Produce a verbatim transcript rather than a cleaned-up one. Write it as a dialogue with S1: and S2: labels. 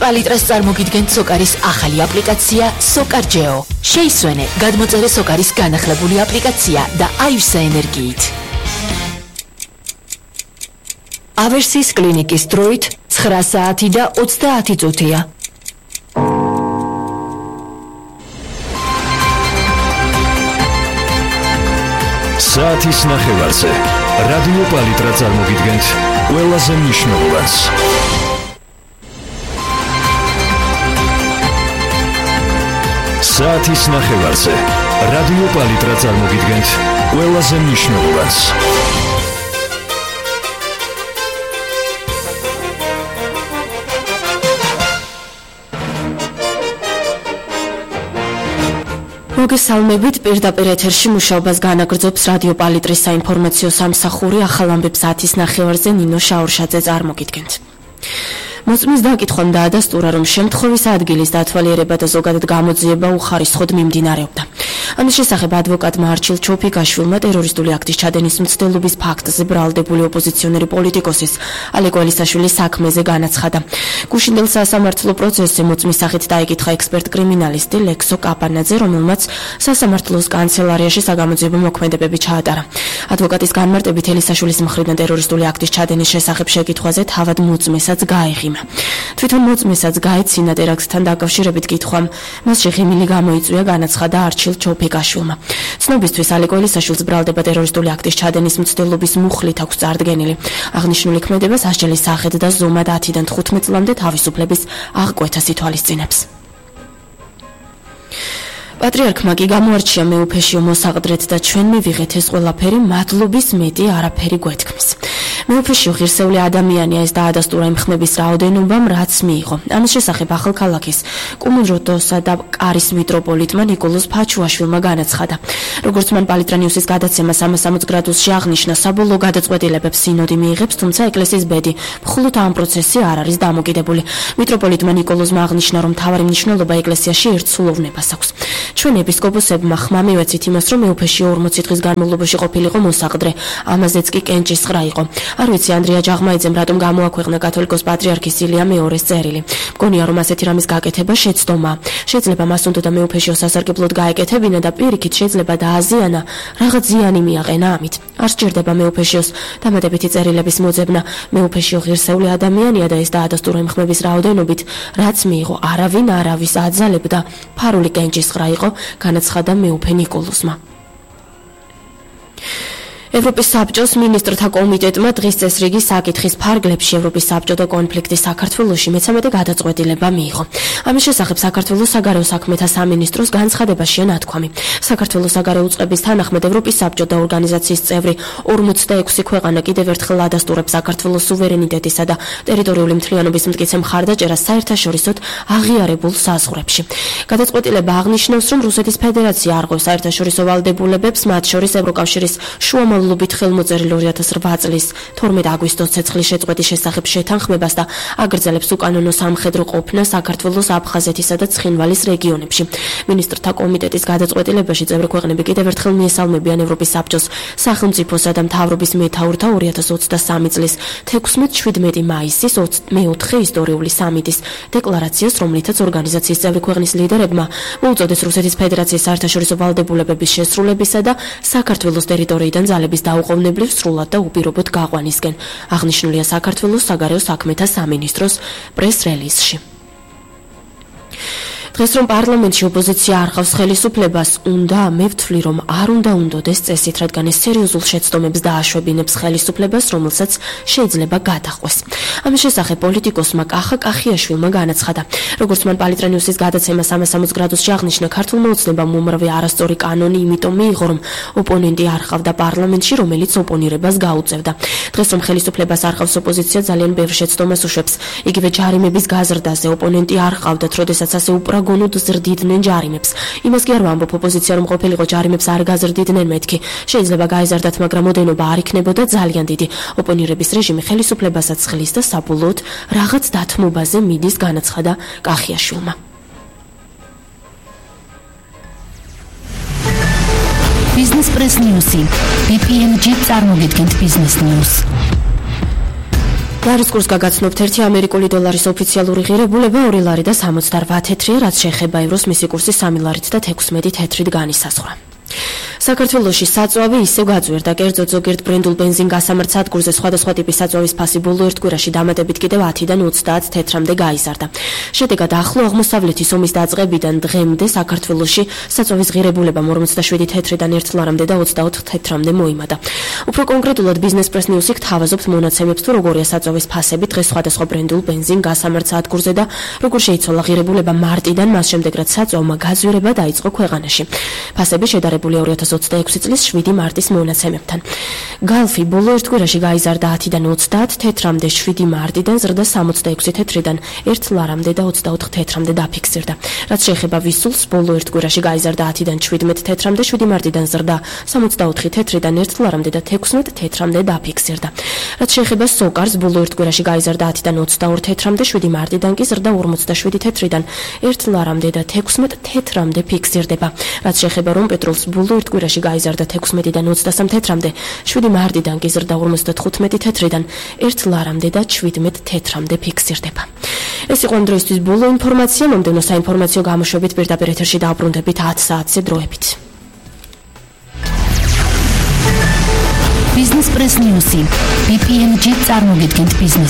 S1: პალიტრას წარმოგიდგენთ სოკარის ახალი აპლიკაცია SokarGeo. შეისვენე გადმოწერე სოკარის განახლებული აპლიკაცია და აივსა ენერგიით. ავერსის კლინიკის დროით ცხრა საათი და ოცდაათი წუთია.
S2: საათის ნახევარზე რადიო პალიტრა წარმოგიდგენთ ყველაზე მნიშვნელოვანს. საათის ნახევარზე რადიო პალიტრა წარმოგიდგენთ ყველაზე მნიშვნელოვანს.
S3: მოგესალმებით, პირდაპირ ეთერში მუშაობას განაგრძობს რადიო პალიტრის საინფორმაციო სამსახური. ახალ ამბებს საათის ნახევარზე ნინო შაურშაძე წარმოგიდგენთ. მოწმის დაკითხვამ დაადასტურა, რომ შემთხვევის ადგილის დათვალიერება და ზოგადად გამოძიება უხარისხოდ მიმდინარეობდა. ამის შესახებ ადვოკატმა არჩილ ჩოფიკაშვილმა ტერორისტული აქტის ჩადენის მცდელობის ფაქტზე ბრალდებული ოპოზიციონერი პოლიტიკოსის ალეკო ელისაშვილის საქმეზე განაცხადა. გუშინდელ სასამართლო პროცესზე მოწმის სახით დაიკითხა ექსპერტ-კრიმინალისტი ლექსო კაპანაძე, რომელმაც სასამართლოს კანცელარიაში საგამოძიებო მოქმედებები ჩაატარა. ადვოკატის განმარტებით ელისაშვილის მხრიდან ტერორისტული აქტის ჩადენის შესახებ შეკითხვაზე თავად მოწმესაც გაეღიმა. თვითონ მოწმესაც გაეცინა ტერაქტთან დაკავშირებით კითხვამ, მასში ღიმილი გამოიწვია, განაცხადა არჩილ ჩოფიკაშვილმა. ცნობისთვის ალეკო ელისაშვილს ბრალდება ტერორისტული აქტის ჩადენის მცდელობის მუხლით აქვს წარდგენილი. აღნიშნული ქმედება სასჯელის სახედ და ზომად ათიდან თხუთმეტ წლამდე თავისუფლების აღკვეთას ითვალისწინებს. პატრიარქმა კი გამოარჩია მეუფეშიო მოსაყდრეთ და ჩვენ მივიღეთ ეს ყველაფერი მადლობის მეტი არაფერი გვეთქმის. მეუფეშიო ღირსეული ადამიანია, ეს დაადასტურა იმ ხმების რაოდენობამ, რაც მიიღო. ამის შესახებ ახალქალაქის კუმუროტოსა და კარის მიტროპოლიტმა ნიკოლოზ ფაჩუაშვილმა განაცხადა. როგორც მან პალიტრა ნიუსის გადაცემა სამას სამოცდაოთხ გრადუსში აღნიშნა, საბოლოო გადაწყვეტილებებს სინოდი მიიღებს, თუმცა ეკლესიის ბედი მხოლოდ ამ პროცესში არ არის დამოკიდებული. მიტროპოლიტმა ნიკოლოზმა აღნიშნა, რომ მთავარი მნიშვნელობა ეკლესიაში ერთსულოვნებას აქვს. ჩვენ ეპისკოპოსებმა ხმა მივეცით იმას, რომ მეუფეშიო ორმოცი დღის განმავლობაში ყოფილიყო მოსაყდრე, ამაზეც კი კენჭისყრა იყო. არ ვიცი ანდრია ჯაღმაიძემ რატომ გამოაქვეყნა კათოლიკოს პატრიარქის ილია მეორეს წერილი. მგონია, რომ ასეთი რამის გაკეთება შეცდომაა. შეიძლება მას უნდა მეუფეშიო სასარგებლოდ გაეკეთებინა და პირიქით შეიძლება დააზიანა, რაღაც ზიანი მიაყენა ამით. არ სჭირდება მეუფეშიოს დამატებითი წერილების მოძებნა. მეუფეშიო ღირსეული ადამიანია და ეს დაადასტურა იმ ხმების რაოდენობით, რაც მიიღო. არავინ არავის აძალებდა, ფარული კენჭისყრა იყო, განაცხადა მეუფე ნიკოლოზმა. ევროპის საბჭოს მინისტრთა კომიტეტმა დღის წესრიგის საკითხის ფარგლებში ევროპის საბჭო და კონფლიქტი საქართველოში მეცამეტე გადაწყვეტილება მიიღო. ამის შესახებ საქართველოს საგარეო საქმეთა სამინისტროს განცხადებაშია ნათქვამი. საქართველოს საგარეო უწყების თანახმად ევროპის საბჭო და ორგანიზაციის წევრი ორმოცდაექვსი ქვეყანა კიდევ ერთხელ ადასტურებს საქართველოს სუვერენიტეტისა და ტერიტორიული მთლიანობის მტკიცე მხარდაჭერას საერთაშორისოდ აღიარებულ საზღვრებში. გადაწყვეტილება აღნიშნავს, რომ რუსეთის ფედერაცია არღვევს საერთაშორისო ვალდებულებებს, მათ შორის ევროკავშირის შუამავლობით ლობით ხელმოწერილ ორი ათას რვა წლის თორმეტ აგვისტოს ცეცხლის შეწყვეტის შესახებ შეთანხმებას და აგრძელებს უკანონო სამხედრო ყოფნა საქართველოს აფხაზეთისა და ცხინვალის რეგიონებში. მინისტრთა კომიტეტის გადაწყვეტილებაში წევრი ქვეყნები კიდევ ერთხელ მიესალმებიან ევროპის საბჭოს სახელმწიფოსა და მთავრობის მეთაურთა ორი ათას ოცდასამი წლის თექვსმეტ შვიდმეტი მაისის მეოთხე ისტორიული სამიტის დეკლარაციას, რომლითაც ორგანიზაციის წევრი ქვეყნის ლიდერებმა მოუწოდეს რუსეთის ფედერაციის საერთაშორისო ვალდებულების შესრულებისა და საქართველოს ტერიტორიიდან ძალების დაუყოვნებლივ სრულად და უპირობოდ გაყვანისკენ. აღნიშნულია საქართველოს საგარეო საქმეთა სამინისტროს პრეს-რელიზში. დღეს რომ პარლამენტში ოპოზიცია არ ყავს ხელისუფლებას, უნდა მე ვთვლი, რომ არ უნდა უნდოდეს წესით, რადგან ეს სერიოზულ შეცდომებს დააშვებინებს ხელისუფლებას, რომელსაც შეიძლება გადაყვეს. ამის შესახებ პოლიტიკოსმა კახა კახიაშვილმა განაცხადა. როგორც მან პალიტრა ნიუსის გადაცემა სამას სამოცდაოთხ გრადუსში აღნიშნა, ქართულმა ოცნებამ უმრავლე არასწორი კანონი იმიტომ მიიღო, რომ ოპონენტი არ ყავდა პარლამენტში, რომელიც ოპონირებას გაუწევდა. დღეს რომ ხელისუფლებას არ ყავს ოპოზიცია, ძალიან ბევრ შეცდომას უშვებს. იგივე ჯარიმების გაზრდაზე ოპონენტი არ ყავდათ, როდესაც ასე უპრაგონოდ ზრდიდნენ ჯარიმებს. იმას კი არ ვამბობ, ოპოზიცია რომ ყოფილიყო ჯარიმებს არ გაზრდიდნენ მეთქი. შეიძლება გაეზარდათ, მაგრამ ოდენობა არ იქნებოდა ძალიან დიდი. ოპონირების რეჟიმი ხელისუფლებასაც ხლის და საბოლოოდ რაღაც დათმობაზე მიდის, განაცხადა კახიაშვილმა.
S4: Business Press News-ი. ბი პი ემ ჯი წარმოგიდგენთ Business News.
S3: ლარის კურსს გაგაცნობთ ერთი ამერიკული დოლარის ოფიციალური ღირებულება ორი ლარი და სამოცდაოთხ თეთრია, რაც შეეხება ევროს მისი კურსი სამი ლარით და თექვსმეტი თეთრით განისაზღვრა. საქართველოში საწვავი ისევ გაძვირდა, კერძოდ ზოგიერთ ბრენდულ ბენზინ გასამართ სადგურზე სხვადასხვა ტიპის საწვავის ფასი ბოლო ერთ კვირაში დამატებით კიდევ ათიდან ოცდაათ თეთრამდე გაიზარდა. შედეგად ახლო აღმოსავლეთის ომის დაწყებიდან დღემდე საქართველოში საწვავის ღირებულებამ ორმოცდაშვიდი თეთრიდან ერთ ლარამდე და ოცდაოთხ თეთრამდე მოიმატა. უფრო კონკრეტულად ბიზნეს პრეს ნიუსი გთავაზობთ მონაცემებს თუ როგორია საწვავის ფასები დღეს სხვადასხვა ბრენდულ ბენზინ გასამართ სადგურზე და როგორ შეიცვალა ღირებულება მარტიდან, მას შემდეგ რაც საწვავმა გაძვირება დაიწყო ქვეყანაში. ფასები შედარებულია ორი ათას ოცდაექვსი წლის შვიდი მარტის მონაცემებთან. გალფი ბოლო ერთ კვირაში გაიზარდა ათიდან ოცდაათ თეთრამდე, შვიდი მარტიდან ზრდა სამოცდაექვსი თეთრიდან ერთ ლარამდე და ოცდაოთხ თეთრამდე დაფიქსირდა. რაც შეეხება ვისულს, ბოლო ერთ კვირაში გაიზარდა ათიდან შვიდმეტ თეთრამდე, შვიდი მარტიდან ზრდა სამოცდაოთხი თეთრიდან ერთ ლარამდე და თექვსმეტ თეთრამდე დაფიქსირდა. რაც შეეხება სოკარს, ბოლო ერთ კვირაში გაიზარდა ათიდან ოცდაორი თეთრამდე, შვიდი მარტიდან კი ზრდა ორმოცდაშვიდი თეთრიდან ერთ ლარამდე და თექვსმეტ თეთრამდე ფიქსირდება. რაც შეეხება რომ პეტროლს ბოლო ერთ კვირაში გაიზარდა თექვსმეტიდან ოცდასამ თეთრამდე, შვიდი მარტიდან კი ზრდა ორმოცდათხუთმეტი თეთრიდან ერთ ლარამდე და შვიდმეტ თეთრამდე ფიქსირდება. ეს იყო ამ დროისთვის ბოლო ინფორმაცია. მომდევნო საინფორმაციო გამოშვებით პირდაპირ ეთერში დაუბრუნდებით ათ საათზე დროებით.
S1: ბიზნეს პრეს ნიუსი. ბი პი ემ ჯი წარმოგიდგენთ ბიზნეს